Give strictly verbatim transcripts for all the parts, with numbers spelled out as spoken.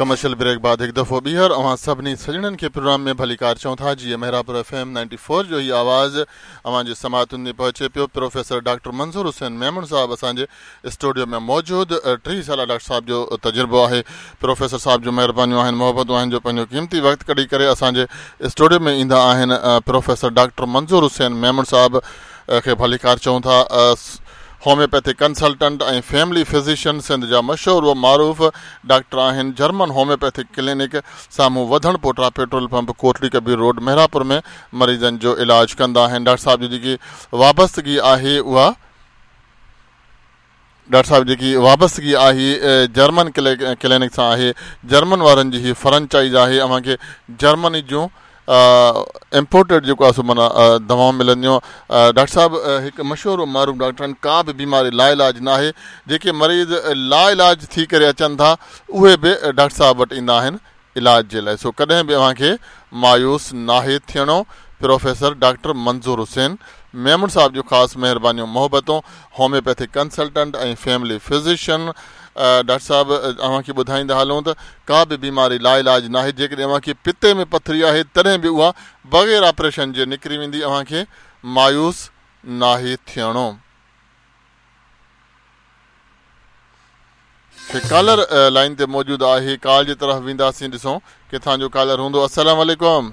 Commercial break بعد هڪ دفعو ٻيهر اوهان سڀني سڄڻن کي پروگرام ۾ ڀليڪار چئون ٿا. جيئن Mehrabpur F M ninety four جو هي آواز اوهان جي سماعتن تي پهچي پيو. پروفيسر ڊاڪٽر منظور حسين ميمڻ صاحب اسان جي اسٽوڊيو ۾ موجود، ٽيهه سال ڊاڪٽر صاحب جو تجربو آهي. پروفيسر صاحب جون مهربانيون آهن، محبتون آهن جو پنهنجو قيمتي وقت ڪڍي ڪري اسان جي اسٽوڊيو ۾ ايندا آهن. پروفيسر ڊاڪٽر منظور حسين ميمڻ صاحب کي ڀليڪار چئون ٿا. Homeopathic consultant ۽ family physician, Sindh جا مشهور و معروف ڊاڪٽر آهن. جرمن هوميوپيٿڪ ڪلينڪ سامهون وڌڻ پوٽا petrol pump, Kotri Kabir road, Mehrapur ۾ مريضن جو علاج ڪندا آهن. ڊاڪٽر صاحب جي جيڪي وابستگي آهي اها ڊاڪٽر صاحب جيڪي وابستگي آهي جرمن ڪلينڪ سان آهي. جرمن وارن جي هي فرنچائز آهي. اوهان کي جرمني جون امپورٽيڊ جيڪو آهي سو معنيٰ دوائون ملنديون. ڊاڪٽر صاحب هڪ مشهور معروف ڊاڪٽر آهن. ڪا به بيماري لا علاج نه آهي. جيڪي مريض لا علاج ٿي ڪري اچن ٿا اهي به ڊاڪٽر صاحب وٽ ايندا آهن علاج جي لاءِ. سو ڪڏهن به اوهان کي مايوس ناهي ٿيڻو. پروفيسر ڊاڪٽر منظور حسين ميمڻ صاحب جون خاص مهربانيون، محبتون. Homeopathic consultant ۽ family physician. Doctor صاحب اوهان کي ٻڌائيندا هلون ته ڪا به بيماري لا علاج نه آهي. جيڪڏهن اوهان کي پتي ۾ پٿري آهي تڏهن به اها بغير آپريشن جي نڪري ويندي. اوهان کي مايوس ناهي ٿيڻو. ڪالر لائن تي موجود آهي، ڪال جي طرف وينداسين، ڏسون ڪٿان جو ڪالر هوندو. السلام عليڪم.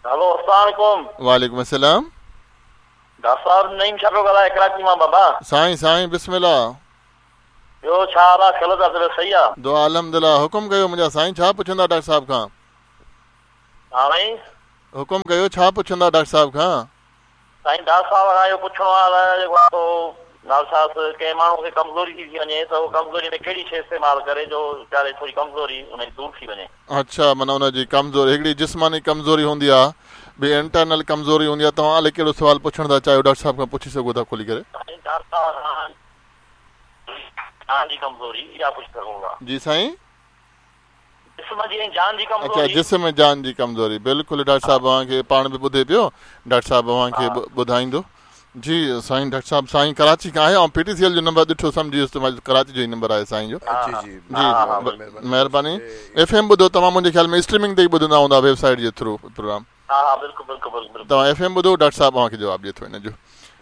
هلو السلام عليڪم. وعليڪم السلام. ڊاڪٽر صاحب نعيم شاهه پيو ڳالهائي ڪراچي مان. بابا سائين سائين بسم الله. ٻيو ڇا حال آهي؟ خير آ؟ صحيح آهي؟ دعا الحمدلله. حڪم ڪيو منهنجا سائين، ڇا پڇندا ڊاڪٽر صاحب کان؟ ها سائين حڪم ڪيو، ڇا پڇندا ڊاڪٽر صاحب کان؟ سائين ڊاڪٽر صاحب کان اهو پڇڻو آهي جيڪو آهي سو ڊاڪٽر صاحب ڪنهن ماڻهو کي ڪمزوري ٿي ٿي وڃي ته اهو ڪمزوري ۾ ڪهڙي شيءِ استعمال ڪري جو ويچاري ٿوري ڪمزوري ان جي دور ٿي وڃي؟ اڇا، معنيٰ ان جي ڪمزوري هڪڙي جسماني ڪمزوري هوندي آهي، ٻي انٽرنل ڪمزوري هوندي آهي. توهان الائي ڪهڙو سوال پڇڻ ٿا چاهيو ڊاڪٽر صاحب کان پڇي سگهو ٿا کولي ڪري. سائين ڊاڪٽر صاحب جان جي ڪمزوري اها پڇي سگهون ٿا؟ جي سائين جسم جي ۽ جان جي ڪمزوري. اڇا، جسم ۽ جان جي ڪمزوري. بلڪل ڊاڪٽر صاحب اوهان کي پاڻ به ٻڌي پيو، ڊاڪٽر صاحب اوهان کي ٻڌائيندو. جي سائين ڊاڪٽر صاحب، سائين ڪراچي کان آهي. ۽ پي ٽي سي ايل جو نمبر ڏٺو سمجهي ويس ته ڪراچي جو ئي نمبر آهي سائين جو. جي جي جي مهرباني. ايف ايم ٻڌو توهان، منهنجي خيال ۾ اسٽريمنگ تي ئي ٻڌندا هوندا ويب سائيٽ جي ٿرو پروگرام. ها ها بلڪل بلڪل بلڪل. توهان ايف ايم ٻڌو، ڊاڪٽر صاحب اوهان کي جواب ڏئي ٿو هن جو.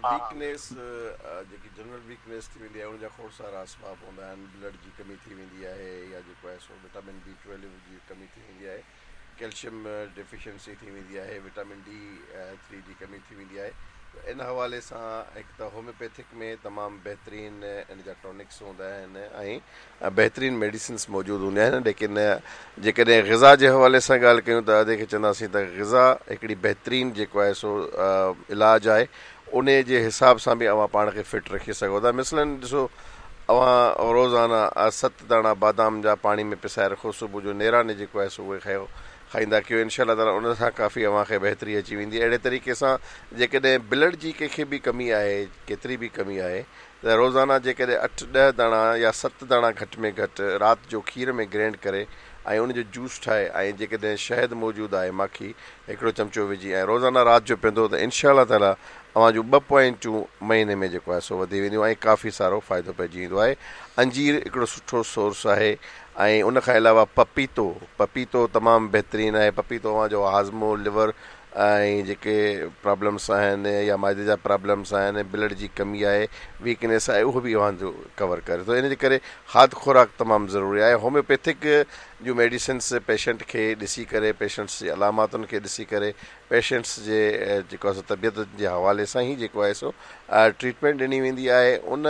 ويڪنيس جيڪي جنرل ويڪنيس ٿي ويندي آهي ان جا کوڙ سارا اسباب هوندا آهن. بلڊ جي ڪمي ٿي ويندي آهي يا جيڪو آهي سو وٽامن بي ٽويلو جي ڪمي ٿي ويندي آهي، ڪيلشيم ڊيفيشنسي ٿي ويندي آهي، وٽامن ڊي ٿري جي ڪمي ٿي ويندي آهي. ان حوالي سان هڪ ته هوميوپيٿڪ ۾ تمام بهترين ان جا ٽانڪس هوندا آهن ۽ بهترين ميڊيسنس موجود هونديون آهن. ليڪن جيڪڏهن غذا جي حوالي سان ڳالهه ڪيون ته ادي کي چونداسين ته غذا هڪڙي بهترين جيڪو آهي سو علاج آهي. ان جي حساب سان به اوهان پاڻ کي فٽ رکي سگهو ٿا. مثلاً ڏسو اوهان روزانه ست داڻا بادام جا پاڻي ۾ پسائي رکو، صبح جو نيراني جيڪو آهي سو اهي کائو کائيندا ڪيو، انشاء الله تعاليٰ ان سان ڪافي اوهان کي بهتري اچي ويندي. اهڙي طريقي سان جيڪڏهن بلڊ جي ڪنهن کي به ڪمي آهي، ڪيتري به ڪمي آهي، ته روزانه جيڪڏهن اٺ ڏهه داڻا يا ست داڻا گهٽ ۾ گهٽ رات جو کير ۾ گرينڊ ڪري ۽ ان جو جوس ٺاهي ۽ جيڪڏهن شهد موجود آهي ماکي هڪڙو چمچو وجهي ۽ روزانه رات جو پيئندو ته انشاء الله تعاليٰ اوهان جون ٻه پوائنٽون مهيني ۾ جيڪو آهي سو وڌي وينديون ۽ ڪافي سارو فائدو پئجي ويندو آهي. انجير هڪڙو سٺو سورس آهي ۽ ان کان علاوه پپيتو، پپيتو تمام بهترين آهي. پپيتو اوهان جو هاضمو، ليور ۽ جيڪي پرابلمس آهن يا معدي جا پرابلمس آهن، بلڊ جي ڪمي آهي، ويڪنيس آهي، اهو به اوهان جو ڪور ڪري ٿو. ان جي ڪري کاڌ خوراڪ تمام ضروري آهي. هوميوپيٿڪ جون ميڊيسنس پيشنٽ کي ڏسي ڪري، پيشنٽس جي علاماتن کي ڏسي ڪري، پيشنٽس جي جيڪو آهي سو طبيعت جي حوالي سان ئي جيڪو آهي سو ٽريٽمينٽ ڏني ويندي آهي. ان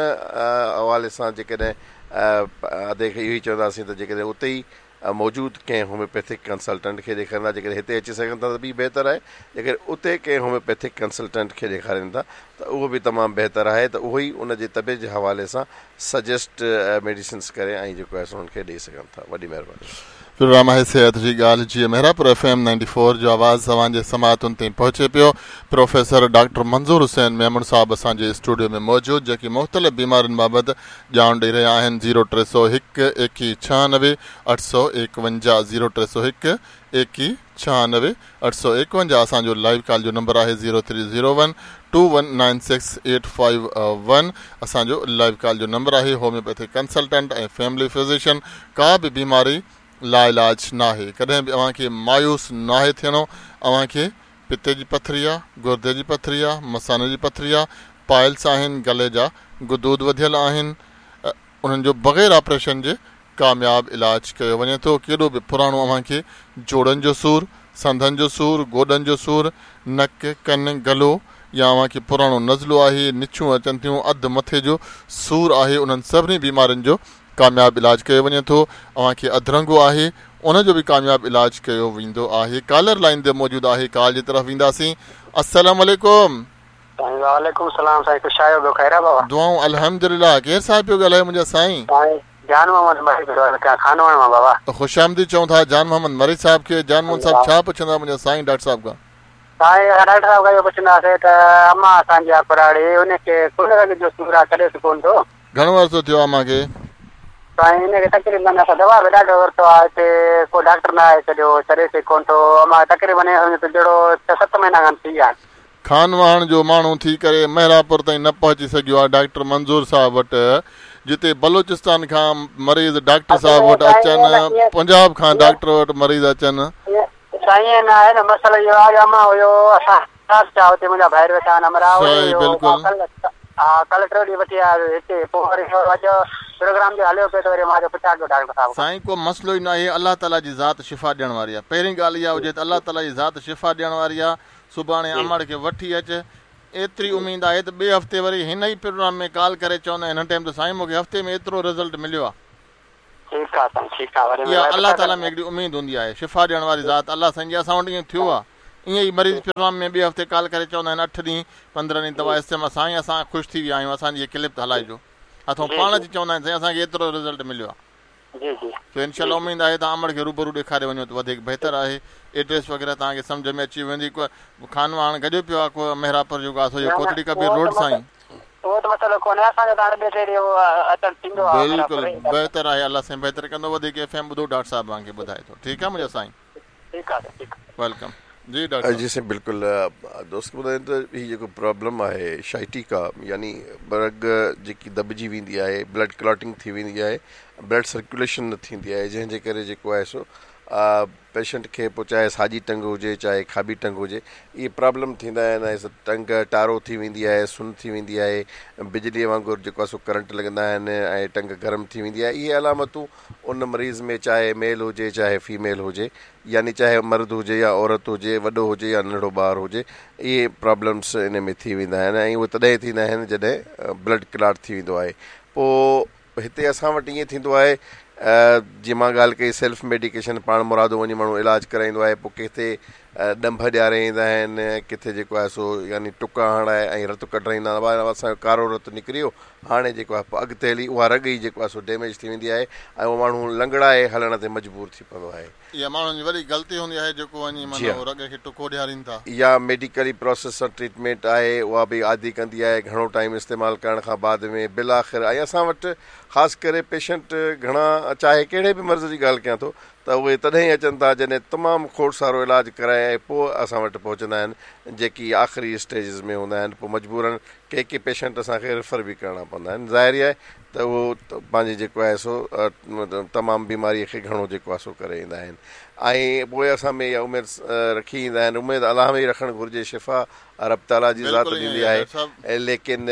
حوالي سان جيڪڏهن ادي کي اهو ئي چونداسين ته جيڪڏهن اتي ئي موجود ڪنهن هوميوپيٿڪ ڪنسلٽنٽ کي ڏيکاريندا، جيڪڏهن هتي اچي سگهن ٿا ته به بهتر آهي، جيڪڏهن اتي ڪنهن هوميوپيٿڪ ڪنسلٽنٽ کي ڏيکارين ٿا ته اهو به تمام بهتر آهي ته اهو ئي ان جي طبيعت جي حوالي سان سجيسٽ ميڊيسنس ڪري ۽ جيڪو آهي سو انهن کي ڏئي سگهن ٿا. وڏي مهرباني. پروگرام آهي صحت جي ڳالهه جيئن Mehrabpur F M ninety four جو آواز اوهان جي سماعتن تائين پهچي پيو. پروفيسر ڊاڪٽر منظور حسين ميمڻ صاحب اسان جي اسٽوڊيو ۾ موجود جيڪي مختلف بيمارين بابت ڄاڻ ڏئي رهيا آهن. زيرو ٽي سؤ هڪ ايڪيهه ڇهانوي اٺ سؤ ايڪونجاهه، زيرو ٽي سؤ هڪ ايڪيهه ڇهانوي اٺ سؤ ايڪونجاهه اسان جو لائيو ڪال جو نمبر آهي. Zero three zero one two one nine six eight five one اسان جو لائيو ڪال جو نمبر آهي. هوميوپيٿڪ ڪنسلٽنٽ ۽ فيملي فزيشن، ڪا به بيماري لاعلاج ناهي. ڪڏهن به اوهان کي مايوس ناهي ٿيڻو. اوهان کي پتي جي پٿري آهي، گردي جي پٿري آهي، مثاني جي پٿري آهي، پائلس آهن، گلي جا غدود وڌيل آهن، انهن جو بغير آپريشن جي ڪامياب علاج ڪيو وڃي ٿو. ڪيڏو به پراڻو اوهان کي جوڙن جو سور، سنڌن جو سور، گوڏن جو سور، نڪ، ڪن، گلو يا اوهان کي پراڻو نزلو آهي، نڇون اچن ٿيون، اڌ مٿي جو سور آهي، انهن سڀني بيمارين جو ڪامياب علاج ڪيو وڃي ٿو. اوهان کي اڌرنگو آهي، ان جو به ڪامياب علاج ڪيو ويندو آهي. ڪالر لائن تي موجود آهي، ڪال جي طرف وينداسين. السلام عليڪم. وعليڪم السلام سائين، خوش آهيو؟ ٻيو خير آهي بابا؟ دعائون الحمدلله. ڪير صاحب پيو ڳالهايو منهنجا سائين؟ سائين جان محمد مري پيو ڳالهايان، خانواهڻ مان بابا. خوش آمديد چئون ٿا جان محمد مري صاحب کي. جان محمد صاحب ڇا پڇندا منهنجا سائين ڊاڪٽر صاحب کان؟ سائين ڊاڪٽر صاحب کان اهو پڇنداسين ته اما اسان جي آ ڪراڙي، ان کي ڪن رڳ جو سور آهي، ڇڏيس ڪونه ٿو. گهڻو عرصو ٿيو آهي اما کي؟ سائين ان کي تقريبن اسان دوا به ڏاڍو ورتو آهي، هتي ڪو ڊاڪٽر نه آهي ڇڏيو، ڇڏيس ئي ڪونه ٿو. اما تقريبن ائين سمجهو ته جهڙو ڇهه ست مهينا کن ٿي ويا آهن. خانواهڻ جو ماڻهو ٿي ڪري مهراپور تائين نه پهچي سگهيو آهي ڊاڪٽر منظور صاحب وٽ، جتي بلوچستان کان مريض ڊاڪٽر صاحب وٽ اچن، پنجاب کان ڊاڪٽر وٽ مريض اچن. سائين نه آهي نه مسئلو اهو آهي جو اما هيو اسان هتي منهنجا ڀائر ويٺا آهن امرا، ها ڪلهه ٽيون ڏينهن وٺي آيو هتي، پوءِ وري اڄ پروگرام جو هليو پيو ته وري مان چيو پڇان ڪيو ڊاڪٽر صاحب. سائين ڪو مسئلو ئي نه آهي، الله تعاليٰ جي ذات شفا ڏيڻ واري آهي. پهرين ڳالهه اها هجي ته الله تعاليٰ جي ذات شفا ڏيڻ واري آهي. سڀاڻي امڙ کي وٺي اچ، ايتري اميد آهي ته ٻئي هفتي وري هن ئي پروگرام ۾ ڪال ڪري چوندا آهن هن ٽائيم ته سائين مون کي هفتي ۾ ايترو رزلٽ مليو آهي. ٺيڪ آهي سائين، ٺيڪ آهي. وري اها الله تعاليٰ ۾ هڪڙي اميد هوندي آهي، شفا ڏيڻ واري ذات الله سائين جي. اسان وٽ ائين ٿيو آهي، ائين ئي مريض پروگرام ۾ ٻئي هفتي ڪال ڪري چوندا آهن اٺ ڏينهن پندرهن ڏينهن دوا استعمال، سائين اسان خوش ٿي ويا آهيون، اسان جي هيءَ ڪلپ هلائجو. اٿئون پاڻ اچي چوندا آهن سائين اسان کي ايترو رزلٽ مليو آهي. جي جي سو انشاء الله اميد آهي توهان امڙ کي روبرو ڏيکاري وڃو ته وڌيڪ بهتر آهي. ايڊريس وغيره توهان کي سمجهه ۾ اچي ويندي. خانواهڻ گڏيو پيو آهي ڪو مهراپور جيڪو آهي سو اهو ڪوٽڙي ڪبير روڊ سائين. اهو ته مسئلو ڪونهي اسان جو، ته هاڻي ٻه ٽي ڏينهن اچڻ ٿيندو آهي. بلڪل بهتر آهي، الله سائين بهتر ڪندو. وڌيڪ ايف ايم ٻڌو، ڊاڪٽر صاحب توهان کي ٻڌائي ٿو. ٺيڪ آهي منهنجا سائين، ٺيڪ آهي، ٺيڪ welcome. جي ڊاڪٽر جي سائين بلڪل. دوست کي ٻڌايون ته هي جيڪو پرابلم آهي شائٽيڪا، يعني رڳ جيڪي دٻجي ويندي آهي، بلڊ ڪلاٽنگ ٿي ويندي آهي، بلڊ سرڪيوليشن نه ٿيندي آهي، جنهن جي ڪري جيڪو آهي سو پيشنٽ کي پوءِ چاهي ساڄي ٽنگ هجي چاهي کاٻي ٽنگ هجي، اهي پرابلم ٿيندا آهن. ۽ ٽنگ ٽارو ٿي ويندي آهي، سن ٿي ويندي آهي، بجليءَ وانگر جيڪو آهي سو ڪرنٽ لڳندا آهن ۽ ٽنگ گرم ٿي ويندي آهي. اهي علامتون ان مريض ۾ چاهي ميل هجي چاهي فيميل هجي، يعني چاهي مرد هجي يا عورت هجي، وڏو هجي يا ننڍڙو ٻار هجي، اهي پرابلمس ان ۾ ٿي ويندا آهن. ۽ اهي تڏهن ٿيندا آهن جڏهن بلڊ ڪلاٽ ٿي ويندو آهي. پوءِ هتي اسان وٽ ائين ٿيندو آهي، جيئن مان ڳالهه ڪئي سيلف ميڊيڪيشن، پاڻ مرادو وڃي ماڻهو علاج ڪرائيندو آهي. پوءِ ڪٿي ڏنڀ ڏياري ايندا آهن، ڪٿي جيڪو آهي سو يعني ٽڪا هڻائي ۽ رت ڪڍرائيندا آهن، اسان جو ڪارو رت نڪري ويو، هاڻي جيڪو آهي اڳتي هلي اها رڳ ئي جيڪو آهي سو ڊيميج ٿي ويندي آهي ۽ اهو ماڻهو لنگڙائي هلڻ تي مجبور ٿي پوندو آهي. اها ماڻهن جي وڏي غلطي هوندي آهي جيڪو وڃي معنيٰ رڳ کي ٽڪو ڏيارين ٿا. يا ميڊيڪلي پروسيس سان ٽريٽمينٽ آهي اها به عادي ڪندي آهي گهڻو ٽائيم استعمال ڪرڻ کان بعد ۾ بلآخر. ۽ اسان وٽ خاص ڪري پيشنٽ گهڻا چاهي ڪهڙي به مرض جي ڳالهه ڪيان ٿو ته اهي تڏهن ئي اچن ٿا جڏهن تمام کوڙ سارو علاج ڪرائي ۽ پوءِ اسان وٽ پهچندا آهن، جيڪي آخري اسٽيجز ۾ هوندا آهن. پوءِ مجبورن ڪي ڪي پيشنٽ اسان کي ريفر به ڪرڻا پوندا آهن. ظاهر ئي آهي ته اهو پنهنجي جيڪو آهي سو تمام بيماريءَ کي گهڻو جيڪو آهي سو ڪري ايندا آهن. ۽ پوءِ اسان ۾ اها اميد رکي ايندا آهن. اميد الله ۾ ئي رکڻ گهرجي، شفا رب تعاليٰ جي ذات ڏيندي آهي. ليڪن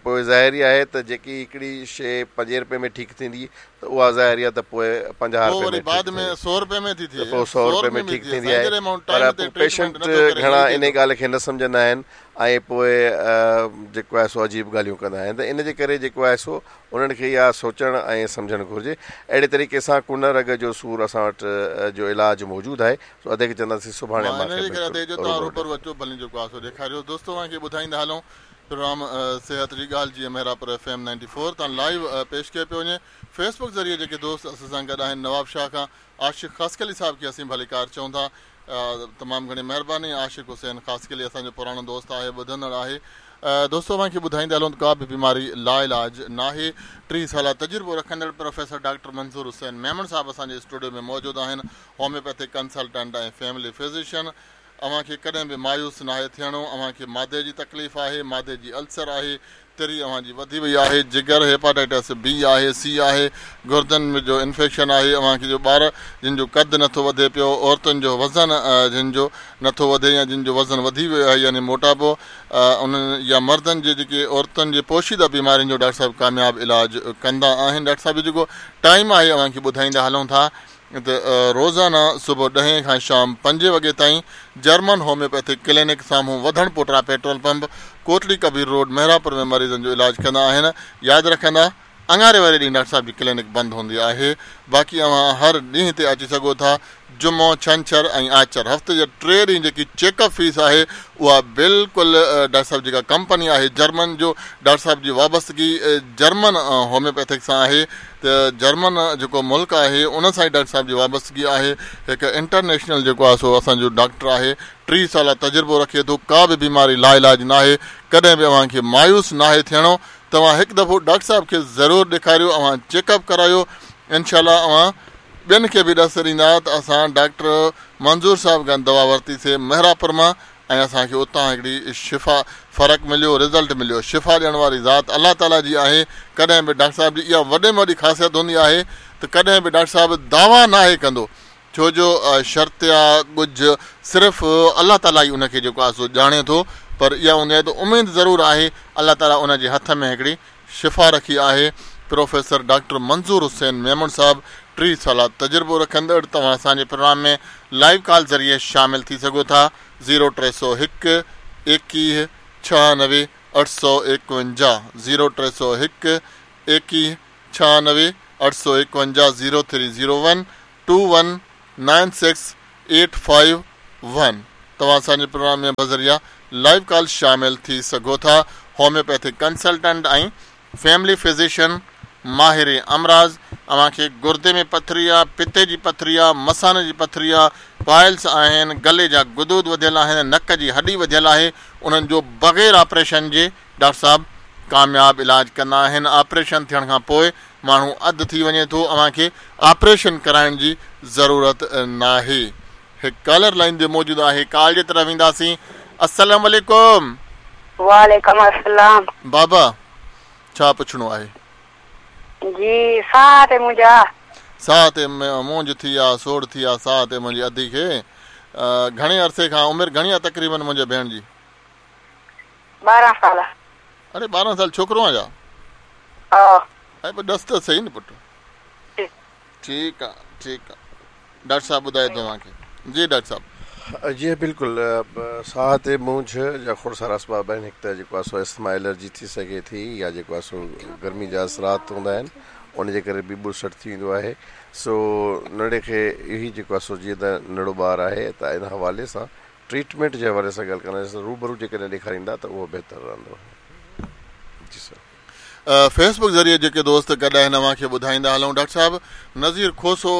پوءِ ظاهر ئي آهي ته جيڪي هڪڙي شيءِ پنجي رپئي ۾ ٺيڪ ٿيندي ته اها ظاهر آهي ته پوءِ پنجاهه رپئي ۾ سؤ رپئي ۾ ٿي ٿئي، پوءِ سؤ رپئي ۾ ٺيڪ ٿيندي آهي. پر پوءِ پيشنٽ گهڻا ان ڳالهه کي نه سمجهندا آهن ۽ پوءِ جيڪو آهي سو عجيب ڳالهيون ڪندا آهن. ته ان جي ڪري جيڪو آهي سو انهن کي اها سوچڻ ۽ سمجهڻ گهرجي. اهڙي طريقي سان ڪن رڳ جو سور اسان وٽ جو علاج موجود آهي. سو اڌ کي چونداسين سڀاڻي ڏيکاريو. دوستو اوهان کي ٻڌائيندا هلون پروگرام صحت جي ڳالهه جيئن Mehrapur F M ninety four تان لائيو پيش ڪيو پيو وڃي. فيس بڪ ذريعي جيڪي دوست اسان سان گڏ آهن، نواب شاهه کان عاشق خاصخيلي صاحب کي اسين ڀليڪار چئون ٿا. تمام گهڻي مهرباني. عاشق حسين خاصخيلي اسان جو پراڻو دوست آهي، ٻڌندڙ آهي. دوستو اوهان کي ٻڌائيندا هلون ته ڪا به بيماري لاعلاج ناهي. ٽيهه سال تجربو رکندڙ پروفيسر ڊاڪٽر منظور حسين ميمڻ صاحب اسان جي اسٽوڊيو ۾ موجود آهن، هوميوپيٿڪ ڪنسلٽنٽ ۽ فيملي فزيشن. اوهان کي ڪڏهن به مايوس ناهي ٿيڻو. اوهان کي مادي جي تڪليف آهي، مادي جي السر آهي، تري اوهان جي وڌي وئي آهي، جگر هيپاٽائٽس بي آهي، سي آهي، گردن ۾ جو انفيڪشن آهي، اوهان کي جو ٻار جن جو قد نٿو وڌي پيو، عورتن جو وزن جن جو نٿو وڌي يا جن جو وزن وڌي ويو آهي يعني موٽاپو، انهن يا مردن جي جيڪي عورتن جي پوشيده بيمارين جو ڊاڪٽر صاحب ڪامياب علاج ڪندا آهن. ڊاڪٽر صاحب جو جيڪو ٽائيم آهي اوهان کي ٻڌائيندا هلون ٿا ته روزانه صبح ڏهين کان شام پنجين وڳي تائين جرمن هوميوپيٿڪ ڪلينڪ سامهون وڌڻ پوٽرا petrol pump, Kotri Kabir road, Mehrapur ۾ مريضن جو علاج ڪندا آهن. ياد رکندا اڱاري واري ڏينهن ڊاڪٽر صاحب جي ڪلينڪ بند هوندي آهي، باقي اوهان هر ڏينهن تي اچي سگهو ٿا. جمعو، ڇنڇر ۽ آچر هفتي جا ٽي ڏينهن جيڪي چيڪ اپ فيس آهي اها بلڪل ڊاڪٽر صاحب جيڪا ڪمپني آهي جرمن جو ڊاڪٽر صاحب جي وابستگي جرمن هوميوپيٿڪ سان آهي ته جرمن جيڪو ملڪ آهي ان سان ئي ڊاڪٽر صاحب جي وابستگي آهي. هڪ انٽرنيشنل جيڪو آهي سو اسان جو ڊاڪٽر آهي، ٽيهه سال تجربو رکي ٿو، ڪا به بيماري لا علاج ناهي، ڪڏهن به اوهان کي مايوس ناهي ٿيڻو. توهان هڪ دفعو ڊاڪٽر صاحب کي ضرور ڏيکاريو، اوهان چيڪ اپ ڪرايو، انشاء الله اوهان ٻين کي به ڏس ڏيندا ته اسان ڊاڪٽر منظور صاحب کان دوا ورتيسين مهراپور مان ۽ اسان کي اتان هڪڙي شفا فرق مليو، رزلٽ مليو. شفا ڏيڻ واري ذات الله تعاليٰ جي آهي. ڪڏهن به ڊاڪٽر صاحب جي اها وڏي ۾ وڏي خاصيت هوندي آهي ته ڪڏهن به ڊاڪٽر صاحب دعويٰ ناهي ڪندو، ڇو جو شرط يا ڳجهه صرف الله تعاليٰ ئي ان کي جيڪو آهي سو ڄاڻي ٿو، پر اها هوندي آهي ته اميد ضرور آهي الله تعاليٰ ان جي هٿ ۾ هڪڙي شفا رکي آهي. پروفيسر ڊاڪٽر منظور حسين ميمڻ صاحب ٽيهه سال تجربو رکندڙ، توهان اسان جي پروگرام ۾ لائيو ڪال ذريعي شامل ٿي سگهو ٿا. زيرو ٽي سؤ هڪ ايڪويهه ڇهانوي اٺ سؤ ايڪونجاهه، زيرو ٽي سؤ هڪ ايڪويهه ڇهانوي اٺ سؤ ايڪونجاهه، zero three zero one two one nine six eight five one. توهان اسان جي پروگرام ۾ بذريعا لائيو ڪال شامل ٿي سگهو ٿا. هوميوپيٿڪ ڪنسلٽنٽ ۽ فيملي فزيشن، ماهر امراض، اوهان کي گردي ۾ پٿري آ، پتي جي پٿري آ، مثاني جي پٿري آ، پائلس آهن، گلي جا غدود وڌيل آهن، نڪ جي هڏي وڌيل آهي، انهن جو بغير آپريشن جي ڊاڪٽر صاحب ڪامياب علاج ڪندا آهن. آپريشن ٿيڻ کان پوءِ ماڻهو اڌ ٿي وڃي ٿو، اوهان کي آپريشن ڪرائڻ جي ضرورت ناهي. هڪ ڪالر لائن تي موجود آهي، ڪال جي طرف وينداسين. السلام عليڪم. وعليڪم السلام. بابا ڇا پڇڻو آهي؟ جي ساهه تي منهنجا ساهه تي مونجهه ٿي آ، سوڙ ٿي آ ساهه تي منهنجي ادي کي. گهڻي عرصي کان، عمر گهڻي آ تقريبن منهنجي ڀيڻ جي؟ ٻارهن سال. اڙي ٻارهن سال ڇوڪرو آ ڇا؟ ها. ۽ پوءِ ڏس ته صحيح نه پٽ. ٺيڪ آ ٺيڪ آ، ڊاڪٽر صاحب ٻڌائي توهان کي. جي ڊاڪٽر صاحب. جي بلڪل، ساهه تي مونجهه جا کوڙ سارا اسباب آهن. هڪ ته جيڪو آهي سو اسٿما الرجي ٿي سگهي ٿي، يا جيڪو آهي سو گرمي جا اثرات هوندا آهن ان جي ڪري به ٻوسٽ ٿي ويندو آهي. سو ننڍي کي اهو جيڪو آهي سو جيئن ته ننڍڙو ٻار آهي ته ان حوالي سان ٽريٽمينٽ جي حوالي سان ڳالهه ڪنداسين، روبرو جيڪڏهن ڏيکاريندا ته اهو بهتر رهندو. جي سر. فيسبڪ ذريعي جيڪي دوست گڏ آهن اوهان کي ٻڌائيندا هلون. ڊاڪٽر صاحب نذير کوسو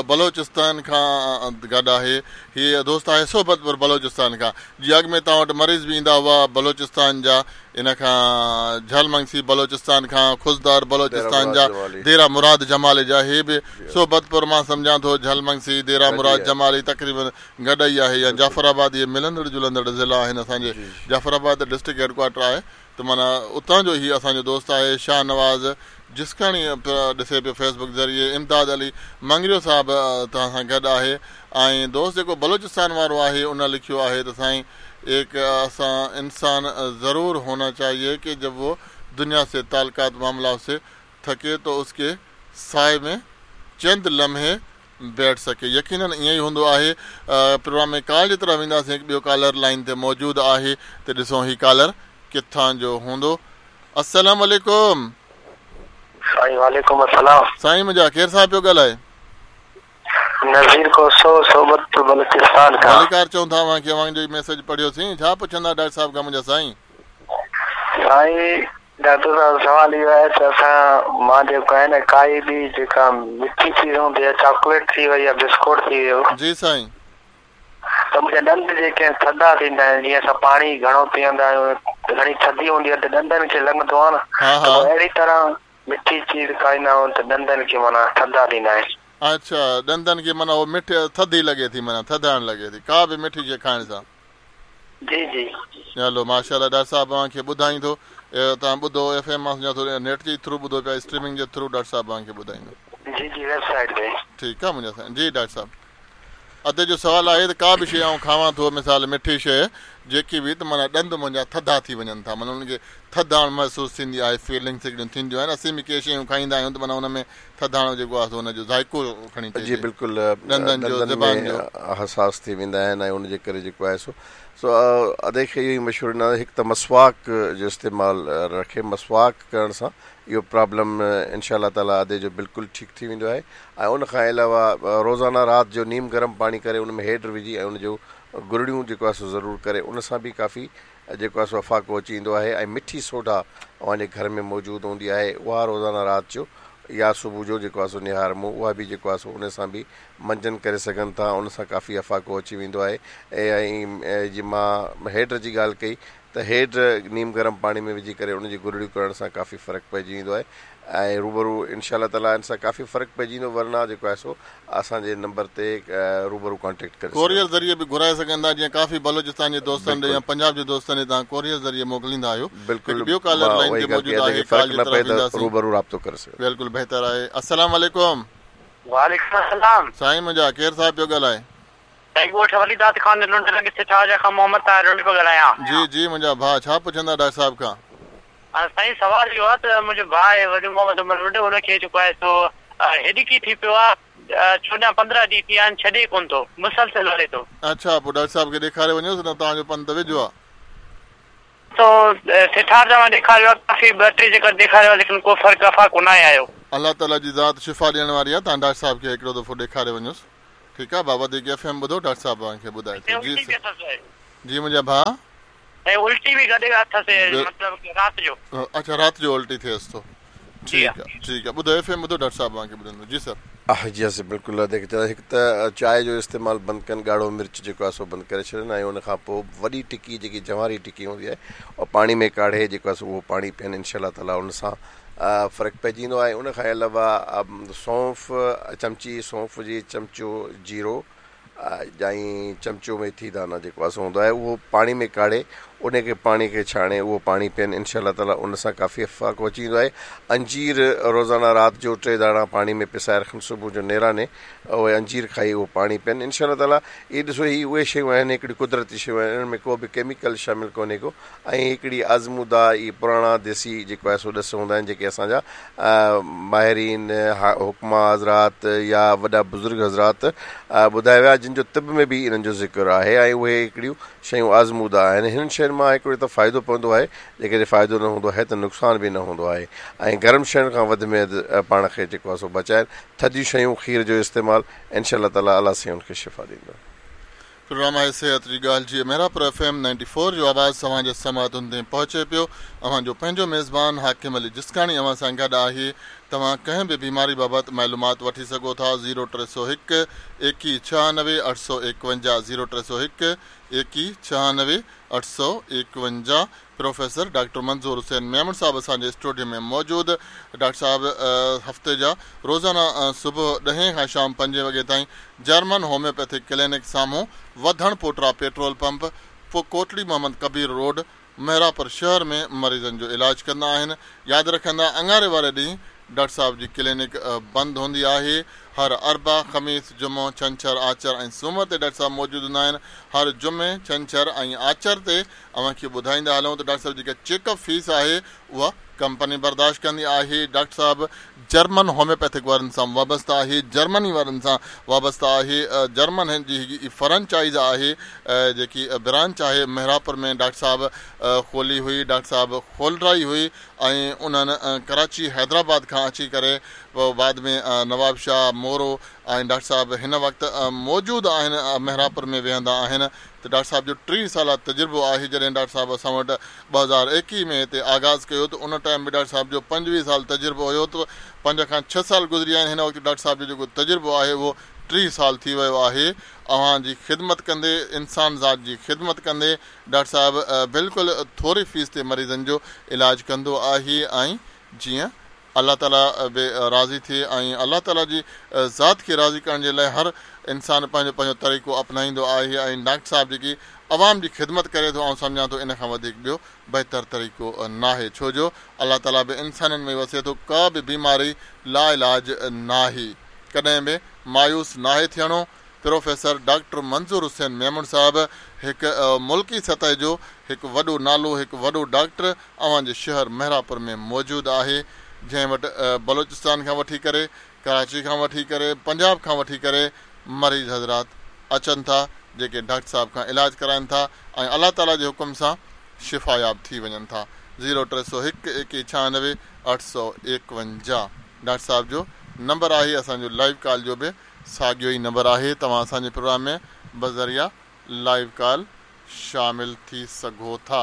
بلوچستان کان گڏ آهي، هيءَ دوست آهي صحبتپور بلوچستان کان. جي اڳ ۾ توهان وٽ مريض به ايندا هئا بلوچستان جا، ان کان جهل منگسي بلوچستان کان، خضدار بلوچستان جا، ديرا مراد جمالي جا، هي به صحبتپور مان سمجهان ٿو جهل منگسي، ديرا مراد جمالي تقريبن گڏ ئي آهي، يا جعفر آباد، اهي ملندڙ جلندڙ ضلعا آهن. اسان جي جعفر آباد ڊسٽرڪٽ هيڊ ڪوارٽر آهي ته معنيٰ اتان جو هي اسان جو دوست آهي. شاهنواز جسڪاڻي ڏسي پيو فيسبڪ ذريعي. امداد علي مڱريو صاحب توهان سان گڏ آهي. ۽ دوست جيڪو بلوچستان وارو آهي ان لکيو آهي ته سائين एक ऐसा इंसान ज़रूर होना चाहिए कि जब वो दुनिया से ताल्लुकात मामला से थके तो उसके साए में चंद लम्हे बैठ सके। यकीनन ईअं ई हूंदो आहे। प्रोग्राम में कॉल जी तरफ़ वेंदासीं, हिकु ॿियो कॉलर लाइन ते मौजूदु आहे त ॾिसो ही कॉलर किथां जो हूंदो। अस्सलाम वालेकुम। साईं वालेकुम अस्सलाम। साईं मुंहिंजा केरु साहिब पियो ॻाल्हाए? नज़ीर कोसो, सोबतपुर बलूचिस्तान खां। भलीकार चऊं था अव्हांखे, अव्हांजो मैसेज पढ़ियोसीं। छा पुछंदा डॉक्टर साहिब खां मुंहिंजा साईं? साईं डॉक्टर साहिब सवाल इहो आहे त असां मां जेको आहे न काई बि जेका मिठी चीज़ हूंदी आहे, चॉकलेट थी वई या बिस्कुट थी वियो, जी साईं, त मुंहिंजा ॾंद जेके आहिनि थधा थींदा आहिनि। जीअं असां पाणी घणो पीअंदा आहियूं, घणी थधी हूंदी आहे त ॾंदनि खे लॻंदो आहे न, त अहिड़ी तरह मिठी चीज़ खाईंदा आहियूं त ॾंदनि खे माना थधा थींदा आहिनि। अच्छा, ॾंदनि खे माना उहो मिठ थधी लॻे थी, माना थधाइण लॻे थी का बि मिठी शइ खाइण सां। जी जी। हलो माशाअल्लाह, डॉक्टर साहिबु तव्हांखे ॿुधाईंदो, तव्हां ॿुधो एफ एम मां सम्झां थो नेट जे थ्रू ॿुधो पिया, स्ट्रीमिंग जे थ्रू डॉक्टर साहिबु तव्हांखे ॿुधाईंदो। जी जी, वेबसाइट ते। ठीकु आहे मुंहिंजा साईं। जी डॉक्टर साहिबु, अदे जो सवालु आहे त का बि शइ आउं खावां थो, मिसाल मिठी शइ जेकी बि, त माना ॾंद मुंहिंजा थधा थी वञनि था, माना उन्हनि खे थधाइण महसूसु थींदी आहे, फीलिंग्स हिकिड़ियूं थींदियूं आहिनि। असीं बि के शयूं खाईंदा आहियूं त माना हुन में थधाइण जेको आहे हुनजो ज़ाइको खणी जी बिल्कुलु ॾंदनि जो, ज़बान जो हसास थी वेंदा आहिनि ऐं उनजे करे जेको आहे सो सो अदे खे इहो ई मशहूरु ॾिनो, हिकु त मसवाक जो इस्तेमालु रखे, मसवाक करण सां इहो प्रॉब्लम इनशा ताला अदे जो बिल्कुलु ठीकु थी वेंदो आहे। ऐं उन खां अलावा रोज़ाना राति जो नीम गरम पाणी करे उन में हेड विझी ऐं उनजो गुरड़ियूं जेको आहे सो ज़रूरु करे, उन सां बि काफ़ी जेको आहे सो अफाको अची ईंदो आहे। ऐं मिठी सोडा अव्हांजे घर में मौजूदु हूंदी आहे, उहा रोज़ाना राति जो या सुबुह जो जेको आहे सो निहार मुंहुं, उहा बि जेको आहे सो उन सां बि मंजन करे सघनि था, उन सां काफ़ी अफाको अची वेंदो आहे। ऐं जीअं मां हेड जी ॻाल्हि कई त हेड नीम गरम पाणी में विझी करे उनजी गुरड़ियूं करण सां काफ़ी फ़र्क़ु पइजी वेंदो आहे ऐं रूबरू इनशा ताला इन सां काफ़ी फ़र्क़ु पइजी वेंदो, वरना जेको आहे सो असांजे नंबर ते रूबरू कॉन्टेक्ट करे कोरियर ज़रिए बि घुराए सघंदा, जीअं काफ़ी बलोचिस्तान जे दोस्तनि ॾे या पंजाब जे दोस्तनि ॾे तव्हां कोरियर ज़रिए मोकिलींदा आहियो। बिल्कुलु, ॿियो कॉलर लाइन ते मौजूदु आहे, फ़र्क़ु न पए त रूबरू राब्तो करे सघो। बिल्कुलु बहितर आहे। अस्सलाम वालेकुम। वालेकुम अस्सलाम। साईं मुंहिंजा, केरु साहिबु पियो ॻाल्हाए? साईं ॻोठ वलीदात खान लुंड लॻे सिठार खां मोहम्मद ताहिर लुंड पियो ॻाल्हायां। जी जी मुंहिंजा भाउ, छा पुछंदा डॉक्टर साहिब खां? साईं सवाल इहो आहे त मुंहिंजो भाउ आहे वॾो मोहम्मद उमर लुंड, हुनखे जेको आहे सो हेॾिकी थी पियो आहे, चोॾहं पंद्रहं ॾींहं थी विया आहिनि, छॾे कोन थो, मुसलसल हले थो। अच्छा, पोइ डॉक्टर साहिब खे ॾेखारे वञोसि न, तव्हांजो पंधु त वेझो आहे। तो सिठार जा मां ॾेखारियो आहे, काफ़ी ॿ टे जॻह ॾेखारियो आहे, लेकिन को फ़र्क़ु अफाको न आहे आयो। अलाह ताला जी ज़ात शिफ़ा ॾियण वारी आहे, तव्हां डॉक्टर साहिब खे हिकिड़ो दफ़ो ॾेखारे वञोसि। ठीकु आहे बाबा, जेके एफ एम ॿुधो, डॉक्टर साहिबु तव्हांखे ॿुधाए थो। जी जी मुंहिंजा भाउ, उल्टी बि गॾु अथसि, मतिलबु राति जो। अच्छा, राति जो उल्टी थियसि थो। ठीकु आहे ठीकु आहे, ॿुधो एफ एम ॿुधो, डॉक्टर साहिबु तव्हांखे ॿुधाईंदो। जी सर। जी सर बिल्कुलु, देख हिकु त चांहि जो इस्तेमालु बंदि कनि, ॻाढ़ो मिर्च जेको आहे सो बंदि करे छॾनि ऐं उन खां पोइ वॾी टिकी जेकी जंवारी टिकी हूंदी आहे उहा पाणी में काढ़े जेको आहे सो उहो पाणी पीअनि, इनशा ताला उन सां फ़र्क़ु पइजी वेंदो आहे। उन खां अलावा सौंफ़ चमची, सौंफ़ जी चमचो जीरो ऐं चमचो मेथी दाना जेको आहे सो हूंदो आहे, उहो पाणी में काढ़े उनखे पाणी खे छाणे उहो पाणी पीअनि, इनशा ताला उन सां काफ़ी फ़र्क़ु अची वेंदो आहे। अंजीर रोज़ाना राति जो टे दाणा पाणी में पिसाए रखनि, सुबुह जो नेराने उहे अंजीर खाई उहो पाणी पीअनि, इनशा ताला। इहे ॾिसो, हीअ उहे शयूं आहिनि, हिकिड़ी कुदरती शयूं आहिनि, इन्हनि में को बि केमिकल शामिल कोन्हे को ऐं हिकिड़ी आज़मूदा इहे पुराणा देसी जेको आहे सो ॾस हूंदा आहिनि, जेके असांजा माहिरीन हुक्मा हज़रात या वॾा बुज़ुर्ग हज़रात ॿुधाए विया, जिन जो तिब में बि इन्हनि जो ज़िक्र आहे ऐं उहे हिकिड़ियूं शयूं आज़मूदा आहिनि। हिननि शयुनि मां हिकिड़ो त फ़ाइदो पवंदो आहे, जेकॾहिं फ़ाइदो न हूंदो आहे त नुक़सानु बि न हूंदो आहे। ऐं गरम शयुनि खां वधि में वधि पाण खे जेको आहे सो बचाइनि, थधियूं शयूं, खीर जो इस्तेमालु, इनशा ताला अलाह साईं उनखे शिफ़ा ॾींदो। प्रोग्राम आहे सेहत जी ॻाल्हि जी Mehrapur F M ninety four जो आवाज़ तव्हांजे समातुनि ताईं पहुचे पियो। अव्हांजो पंहिंजो मेज़बान हाकिम अली जिस्काणी अव्हां सां गॾु आहे। तव्हां कंहिं बि बीमारी बाबति मालूमात वठी सघो था ज़ीरो टे सौ हिकु एकवीह छहानवे अठ सौ एकवंजाह, ज़ीरो टे सौ हिकु एकवीह छहानवे अठ सौ एकवंजाह। प्रोफेसर डॉक्टर मंज़ूर हुसैन मेमण साहब असांजे स्टूडियो में मौजूदु। डॉक्टर साहब हफ़्ते जा रोज़ाना सुबुह ॾहें खां शाम पंजे वॻे ताईं जर्मन होम्योपैथिक क्लिनिक साम्हूं वधण पोटरा पेट्रोल पंप पोइ कोटड़ी मोहम्मद कबीर रोड मेहरापुर शहर में मरीज़नि जो इलाज कंदा आहिनि। यादि रखंदा अंगारे वारे ॾींहुं डॉक्टर साहब जी क्लिनिक बंदि हूंदी आहे। हर अरबा, ख़मीस, जुमो, छंछर, आचर ऐं सूमर ते डॉक्टर साहब मौजूदु हूंदा आहिनि। हर जुमे, छंछर ऐं आचर ते अव्हांखे ॿुधाईंदा हलूं त डॉक्टर साहब जेका चेकअप फीस आहे उहा कंपनी बर्दाश्त कंदी आहे। डॉक्टर साहब जर्मन होम्योपैथिक वारनि सां वाबस्ता आहे, जर्मनी वारनि सां वाबस्ता आहे। जर्मन जी फ्रेंचाइज़ आहे, जेकी ब्रांच आहे मेहरापुर में डॉक्टर साहब खोली हुई, डॉक्टर साहब खोलराई हुई ऐं उन्हनि कराची हैदराबाद खां अची करे पोइ बाद में नवाब शाह मोरो ऐं डॉक्टर साहब हिन वक़्तु मौजूदु आहिनि, मेहरापुर में वेहंदा आहिनि। त डॉक्टर साहब जो टीह साल तजुर्बो आहे। जॾहिं डॉक्टर साहब असां वटि ॿ हज़ार एकवीह में हिते आगाज़ कयो त उन टाइम बि डॉक्टर साहब जो पंजवीह साल तजुर्बो हुयो, त पंज खां छह साल गुज़री विया आहिनि। हिन वक़्तु डॉक्टर साहब जो जेको तजुर्बो आहे उहो टीह साल थी वियो आहे। अव्हां जी ख़िदमत कंदे, इंसान ज़ात जी ख़िदमत कंदे डॉक्टर साहब बिल्कुलु थोरी फीस ते मरीज़नि जो इलाज कंदो आहे ऐं जीअं الله تعاليٰ به راضي ٿئي ۽ الله تعاليٰ جي ذات کي راضي ڪرڻ جي لاءِ هر انسان پنهنجو پنهنجو طريقو اپنائيندو آهي ۽ ڊاڪٽر صاحب جيڪي عوام جي خدمت ڪري ٿو آئون سمجهان ٿو ان کان وڌيڪ ٻيو بهتر طريقو ناهي ڇو جو الله تعاليٰ به انسانن ۾ وسي ٿو ڪا به بيماري لا علاج ناهي ڪڏهن به مايوس ناهي ٿيڻو پروفيسر ڊاڪٽر منظور حسين ميمڻ صاحب هڪ ملڪي سطح جو هڪ وڏو نالو هڪ وڏو ڊاڪٽر اوهان جي شهر مهراپور ۾ موجود آهي جنهن وٽ بلوچستان کان وٺي ڪري ڪراچي کان وٺي ڪري پنجاب کان وٺي ڪري مريض حضرات اچن ٿا جيڪي ڊاڪٽر صاحب کان علاج ڪرائين ٿا ۽ الله تعاليٰ جي حڪم سان شفاياب ٿي وڃن ٿا زيرو ٽي سؤ هڪ ايڪويهه ڇهانوي اٺ سؤ ايڪونجاهه ڊاڪٽر صاحب جو نمبر آهي اسان جو لائيو ڪال جو به ساڳيو ئي نمبر آهي توهان اسان جي پروگرام ۾ بذريعا لائيو ڪال شامل ٿي سگهو ٿا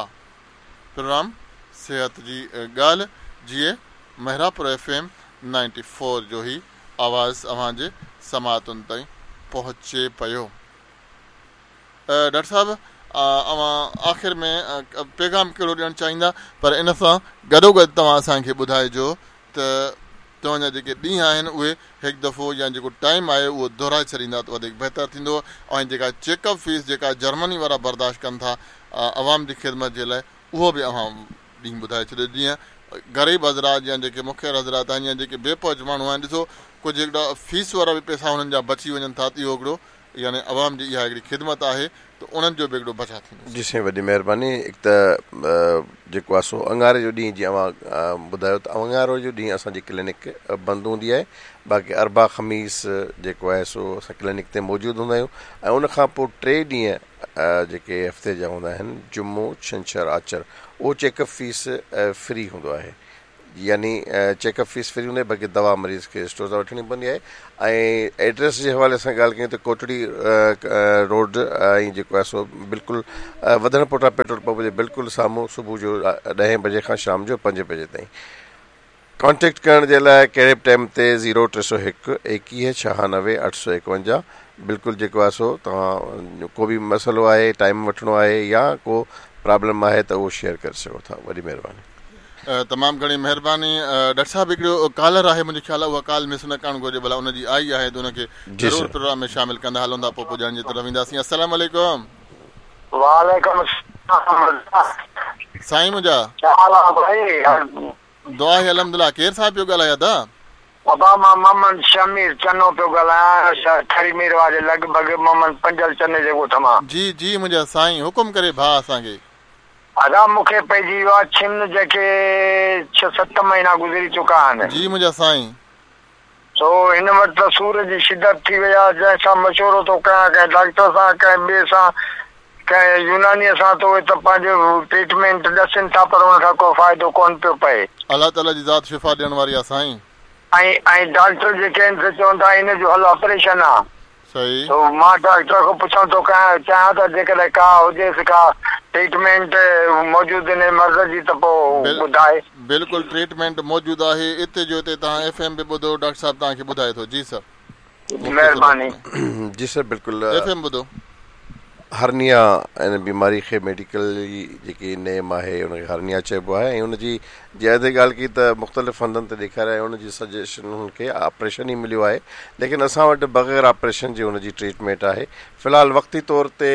پروگرام صحت جي ڳالهه جيئن Mehrabpur F M ninety four جو هي آواز اوهان جي سماعتن تائين پهچي پيو ڊاڪٽر صاحب اوهان آخر ۾ پيغام ڪهڙو ڏيڻ چاهيندا پر ان سان گڏوگڏ توهان اسان کي ٻڌائجو ته توهان جا جيڪي ڏينهن آهن اهي هڪ دفعو يا جيڪو ٽائيم آهي اهو دهرائي ڇڏيندا ته وڌيڪ بهتر ٿيندو ۽ جيڪا چيڪ اپ فيس جيڪا جرمني وارا برداشت ڪن ٿا عوام جي خدمت جي لاءِ اهو به اوهان ڏينهن ٻڌائي ڇڏيو جيئن غريب حضرات يا جيڪي مکير حضرات آهن يا جيڪي بي پهچ ماڻهو آهن ڏسو ڪجهه هڪڙا فيس وارا به پئسا هنن جا بچي وڃن ٿا ته اهو هڪڙو يعني عوام جي اها هڪڙي خدمت آهي ته انهن جو به هڪڙو بچاءُ ٿيندو جي سائين وڏي مهرباني هڪ ته جيڪو آهي سو اڱاري جو ڏينهن جيئن اوهان ٻڌايو ته اڱارو جو ڏينهن اسان جي ڪلينڪ بند هوندي آهي باقي اربع خميس جيڪو آهي سو اسان ڪلينڪ تي موجود هوندا آهيون ۽ ان کان پوءِ ٽي ڏينهن جيڪي هفتي جا هوندا آهن جمعو ڇنڇر آچر اهو چيڪ اپ فيس فري هوندو آهي يعني چيڪ اپ فيس فري هوندي آهي باقي دوا مريض کي اسٽور تان وٺڻي پوندي آهي ۽ ايڊريس جي حوالي سان ڳالهه ڪيون ته ڪوٽڙي روڊ ۽ جيڪو آهي سو بلڪل وڌڻ پوٽا پيٽرول پمپ جي بلڪل سامهون صبح جو ڏهين بجي کان شام جو پنج بجي تائين ڪانٽيڪٽ ڪرڻ جي لاءِ ڪهڙي به ٽائيم تي زيرو ٽي سؤ هڪ ايڪويهه ڇهانوي اٺ سؤ ايڪونجاهه بلڪل جيڪو آهي سو توهان ڪو به مسئلو آهي ٽائيم وٺڻو آهي يا ڪو پرابلم آهي ته اهو شيئر ڪري سگهو ٿا وڏي مهرباني تمام گهڻي مهرباني ڊاڪٽر صاحب هڪڙو ڪالر آهي منهنجي خيال آهي اها ڪال مس نه ڪرڻ گهرجي ڀلا ان جي آئي آهي ته ان کي ضرور پروگرام ۾ شامل ڪندا هلون ٿا پوءِ پڄائڻ جي طرف اينداسين السلام عليڪم وعليڪم سائين منهنجا دعا آهي الحمدلله ڪير صاحب پيو ڳالهائي ادا ابا مان محمد شمير چنو پيو ڳالهايان ٺري ميرواهه جي لڳ ڀڳ محمد پنجل چني جي ڳوٺ مان جي جي منهنجا سائين حڪم ڪري ڀاءُ اسان کي ادا مون کي پئجي ويو آهي ڇن جيڪي ڇهه ست مهينا گذري چڪا آهن جي منهنجا سائين سو هن وقت ته سور جي شدت ٿي وئي آهي جنهن سان مشورو ٿو ڪيان ڪنهن ڊاڪٽر سان ڪنهن ٻئي سان ڪنهن يونانيءَ سان ته اهي ته پنهنجو ٽريٽمينٽ ڏسن ٿا پر هن کان ڪو فائدو ڪونه پيو پئي الله تعاليٰ جي ذات شفا ڏيڻ واري آهي سائين ۽ ۽ ڊاڪٽر جيڪي آهن سي چون ٿا هن جو حل آپريشن آهي صحيح تو مان ڊاڪٽر کان پڇان ٿو ڪيان چاهيان ته جيڪڏهن ڪا هجيس ڪا ٽريٽمينٽ موجود هن مرض جي ته پوءِ ٻڌائي بلڪل ٽريٽمينٽ موجود آهي هتي جو هتي توهان ايف ايم به ٻڌو ڊاڪٽر صاحب توهان کي ٻڌائي ٿو جي سر مهرباني جي سر بلڪل ايف ايم ٻڌو هرنيا ان بيماري کي ميڊيڪل جيڪي نيم آهي ان کي هرنيا چئبو آهي ۽ ان جي جنهن تي ڳالهه ڪئي ته مختلف هنڌن تي ڏيکاريا ۽ ان جي سجيشن هن کي آپريشن ئي مليو آهي ليڪن اسان وٽ بغير آپريشن جي هن جي ٽريٽمينٽ آهي في الحال وقتي طور تي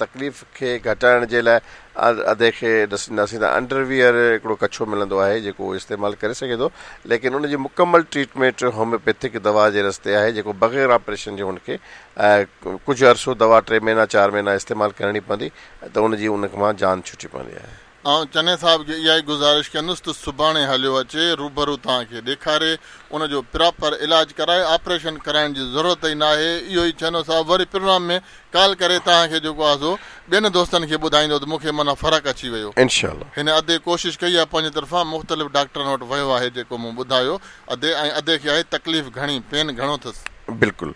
تڪليف کي گهٽائڻ جي لاءِ ادي کي ڏسنداسين ته انڊرويئر هڪڙو ڪڇو ملندو آهي جيڪو استعمال ڪري سگهي ٿو ليڪن ان جي مڪمل ٽريٽمينٽ هوميوپيٿڪ دوا جي رستي آهي جيڪو بغير آپريشن جي هن کي ڪجهه عرصو دوا ٽي مهينا چار مهينا استعمال ڪرڻي پوندي ته ان جي ان مان جان ڇٽي پوندي آهي ۽ چني صاحب کي اها ئي گذارش ڪندس ته سڀاڻي هليو اچي روبرو توهان کي ڏيکاري ان جو پراپر علاج ڪرائي آپريشن ڪرائڻ جي ضرورت ئي نه آهي اهو ئي چنو صاحب وري پروگرام ۾ ڪال ڪري توهان کي جيڪو آهي سو ٻين دوستن کي ٻڌائيندو ته مون کي معنيٰ فرق اچي ويو انشاء الله هن ادي ڪوشش ڪئي آهي پنهنجي طرفان مختلف ڊاڪٽرن وٽ ويو آهي جيڪو مون ٻڌايو ادي ۽ ادي کي آهي تڪليف گهڻي پين گهڻو اٿس بلڪل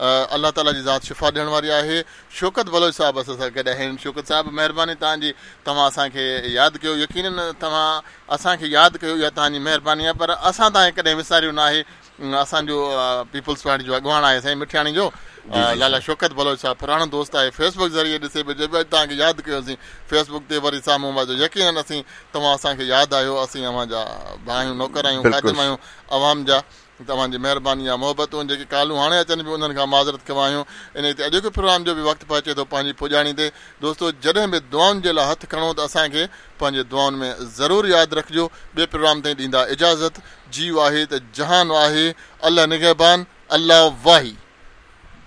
الله تعاليٰ جي ذات شفا ڏيڻ واري آهي شوڪت بلوچ صاحب اسان سان گڏ آهن شوڪت صاحب مهرباني توهان جي توهان اسان کي ياد ڪيو يقينن توهان اسان کي ياد ڪيو اها توهان جي مهرباني آهي پر اسان توهان کي ڪڏهن وساريو نه آهي اسان جو پيپلز پارٽي جو اڳواڻ آهي سائين مٺياڻي جو لالا شوڪت بلوچ صاحب پراڻو دوست آهي فيس بڪ ذريعي ڏسي پيو چئي پيو اڄ توهان کي ياد ڪيوسين فيس بڪ تي وري سامهون واجو يقينن اسين توهان اسان کي ياد آهيو اسين اوهان جا ڀاء آهيون نوڪر آهيون خادم آهيون عوام جا توهان جي مهرباني آهي محبتون جيڪي ڪالون هاڻي اچن پيون انهن کان معذرت خواهه آهيون انهي تي اڄوڪي پروگرام جو به وقت پهچي ٿو پنهنجي پڄاڻي تي دوستو جڏهن به دعائن جي لاء هٿ کڻو ته اسان کي پنهنجي دعائن ۾ ضرور ياد رکجو ٻئي پروگرام تائين ڏيندا اجازت جيءُ آهي ته جهان آهي الله نگهبان الله واهي.